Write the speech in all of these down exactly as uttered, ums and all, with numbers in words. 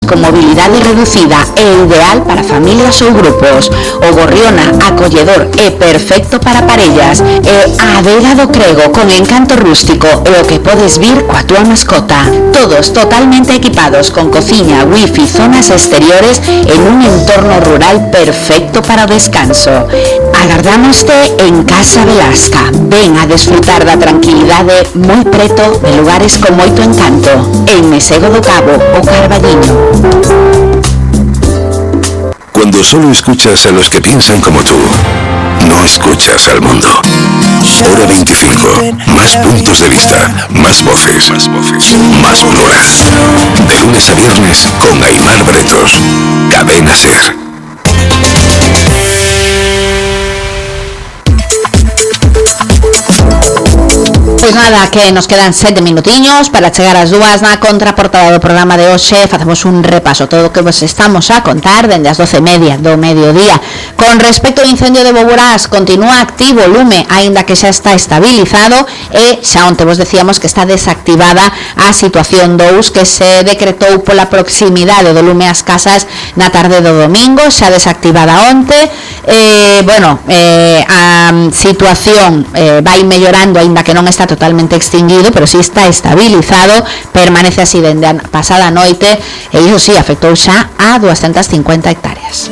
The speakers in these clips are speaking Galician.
con mobilidade reducida e ideal para familias ou grupos. O Gorriona, acolledor e perfecto para parellas. E a adega do Crego, con encanto rústico e o que podes vir coa túa mascota. Todos totalmente equipados con cociña, wifi, zonas exteriores en un entorno rural perfecto para o descanso. Agardámoste en Casa Velasca. Ven a desfrutar da tranquilidade moi preto de lugares con moito encanto. En Mesego do Cabo, o Carballiño. Cuando solo escuchas a los que piensan como tú, no escuchas al mundo. Hora veinticinco. Más puntos de vista, más voces, más voces, más plural. De lunes a viernes con Aimar Bretos. Cadena Ser. Pois nada, que nos quedan sete minutiños para chegar ás dúas. Na contraportada do programa de hoxe facemos un repaso todo o que vos estamos a contar dende as doce e media do mediodía. Con respecto ao incendio de Boborás, continúa activo o lume, aínda que xa está estabilizado, e xa onte vos decíamos que está desactivada a situación dous que se decretou pola proximidade do lume ás casas na tarde do domingo, xa desactivada onte. Eh, bueno, eh, a situación eh, vai mellorando, aínda que non está totalmente extinguido, pero si sí está estabilizado, permanece así dende a pasada noite, e iso si sí, afectou xa a doscientas cincuenta hectáreas.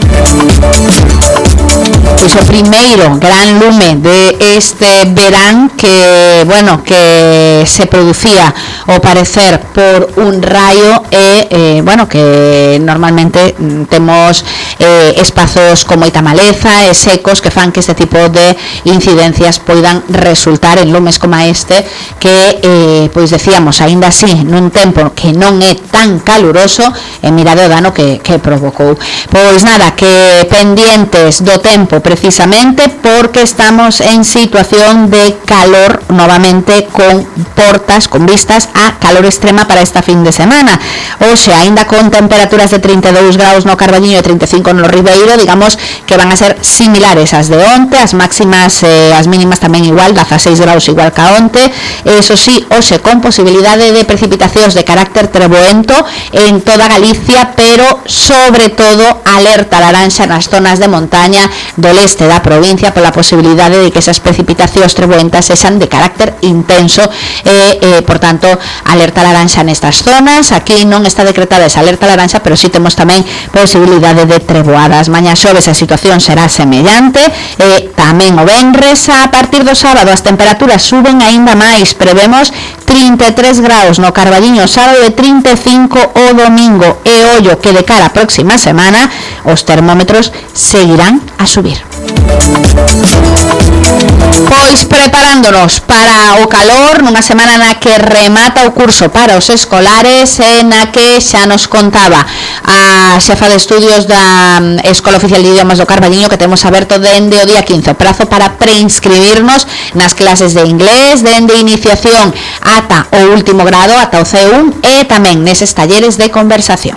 Pois o primeiro gran lume de este verán que, bueno, que se producía ao parecer por un raio e, eh, bueno, que normalmente temos eh, espazos con moita maleza e secos que fan que este tipo de incidencias poidan resultar en lumes como este que, eh, pois decíamos, aínda así nun tempo que non é tan caluroso, e mirade o dano que, que provocou. Pois nada, que pendientes do tempo precisamente porque estamos en situación de calor novamente, con portas, con vistas a calor extrema para esta fin de semana. Oxe, aínda con temperaturas de trinta e dous graus no Carballiño e trinta e cinco no Ribeiro, digamos que van a ser similares ás de onte, as máximas e eh, as mínimas tamén igual, dezaseis graus igual que a onte. Eso sí, oxe, con posibilidade de precipitacións de carácter treboento en toda Galicia, pero sobre todo alerta laranxa nas zonas de montaña do leste da provincia pola posibilidade de que esas precipitacións treboentas sexan de carácter intenso e, eh, por tanto, alerta laranxa nestas zonas. Aquí non está decretada esa alerta laranxa, pero sí temos tamén posibilidade de treboadas. Mañá xoves a situación será semellante, e tamén o venres. A partir do sábado as temperaturas suben aínda máis, prevemos trinta e tres graus no Carballiño sábado e trinta e cinco o domingo, e ollo que de cara a próxima semana os termómetros seguirán a subir. Pois preparándonos para o calor nunha semana na que remata o curso para os escolares, e na que xa nos contaba a xefa de estudios da Escola Oficial de Idiomas do Carballiño que temos aberto dende o día quince o prazo para preinscribirnos nas clases de inglés dende iniciación ata o último grado, ata o C un, e tamén neses talleres de conversación.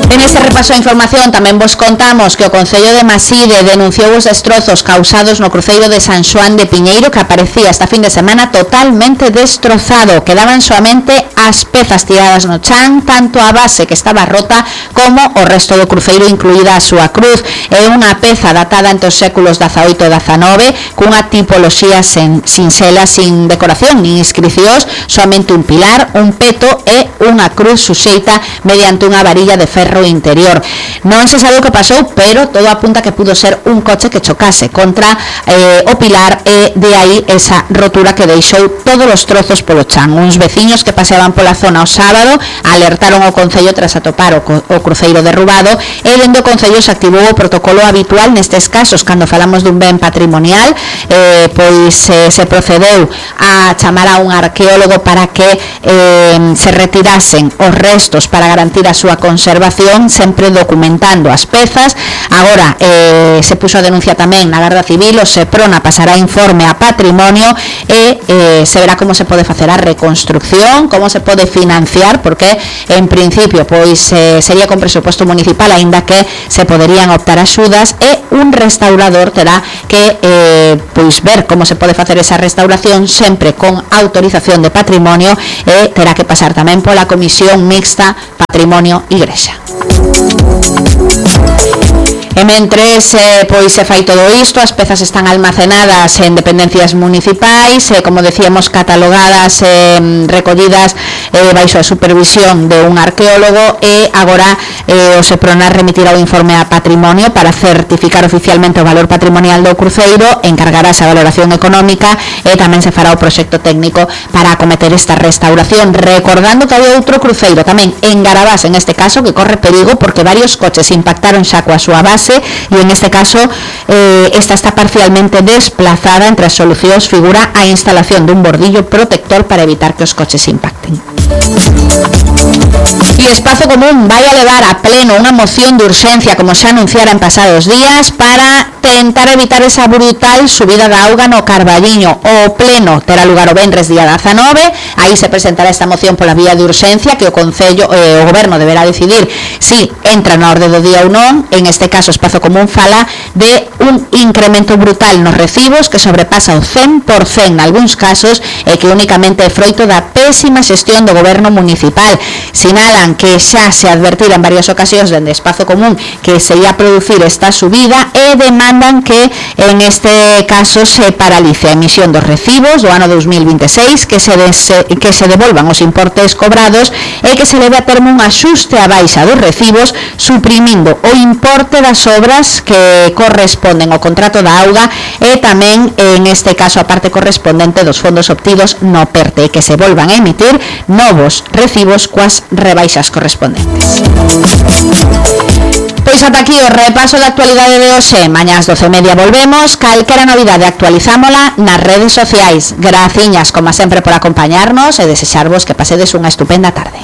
En este repaso a información tamén vos contamos que o Concello de Maside denunciou os destrozos causados no cruceiro de San Xoán de Piñeiro, que aparecía esta fin de semana totalmente destrozado. Quedaban soamente as pezas tiradas no chan, tanto a base que estaba rota como o resto do cruceiro, incluída a súa cruz. É unha peza datada entre os séculos dezaoito e dezanove, cunha tipoloxía sen, sinxela, sin decoración nin inscricións, soamente un pilar, un peto e unha cruz suxeita mediante unha varilla de ferro interior. Non se sabe o que pasou, pero todo apunta que pudo ser un coche que chocase contra eh, o pilar, e de aí esa rotura que deixou todos os trozos polo chan. Uns veciños que paseaban pola zona o sábado alertaron ao Concello tras atopar o, o cruceiro derrubado, e dende o Concello se activou o protocolo habitual nestes casos cando falamos dun ben patrimonial. eh, pois eh, se procedeu a chamar a un arqueólogo para que eh, se retirasen os restos para garantir a súa conservación, sempre documentando as pezas. Agora eh, se puxo a denuncia tamén na Garda Civil, o Seprona pasará informe a Patrimonio, e eh, se verá como se pode facer a reconstrucción, como se pode financiar, porque en principio pois eh, sería con presuposto municipal, aínda que se poderían optar axudas, e un restaurador terá que eh, pois ver como se pode facer esa restauración sempre con autorización de Patrimonio, e terá que pasar tamén pola Comisión Mixta Sexta, Patrimonio Igrexa. E mentres eh, pois se fai todo isto, as pezas están almacenadas en dependencias municipais, eh, como decíamos, catalogadas, eh, recollidas eh, baixo a supervisión de un arqueólogo, e agora eh, o Sepronar remitirá o informe a Patrimonio para certificar oficialmente o valor patrimonial do cruceiro, encargarase a valoración económica e tamén se fará o proxecto técnico para acometer esta restauración, recordando que había outro cruceiro tamén en Garabás, en este caso, que corre perigo porque varios coches impactaron xa coa súa base, e en este caso eh, esta está parcialmente desplazada. Entre as solucións figura a instalación dun bordillo protector para evitar que os coches impacten. E Espazo Común vai a levar a pleno unha moción de urxencia, como xa anunciara en pasados días, para tentar evitar esa brutal subida da auga no Carballiño. O pleno terá lugar o venres día dezanove, aí se presentará esta moción pola vía de urxencia, que o Concello, eh, o Goberno deberá decidir si entra na orde do día ou non. En este caso, Espazo Común fala de un incremento brutal nos recibos que sobrepasa o cen por cento nalgúns casos, e que únicamente é froito da pésima xestión do Goberno municipal. Sinalan que xa se advertira en varias ocasións dende Espazo Común que se ia producir esta subida, e demandan que en este caso se paralice a emisión dos recibos do ano dos mil veintiséis, que se, des, que se devolvan os importes cobrados e que se leve a termo un axuste a baixa dos recibos, suprimindo o importe das obras que corresponden ao contrato da auga, e tamén en este caso a parte correspondente dos fondos obtidos no PERTE, e que se volvan a emitir novos recibos coas rebaixas correspondentes. Pois ata aquí o repaso da actualidade de hoxe. Mañá ás doce e media volvemos. Calquera novidade actualizámola nas redes sociais. Graciñas, como sempre, por acompañarnos e desexarvos que pasedes unha estupenda tarde.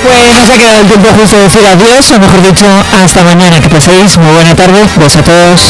Pues nos ha quedado el tiempo justo de decir adiós, o mejor dicho, hasta mañana. Que paséis muy buena tarde. Besos a todos.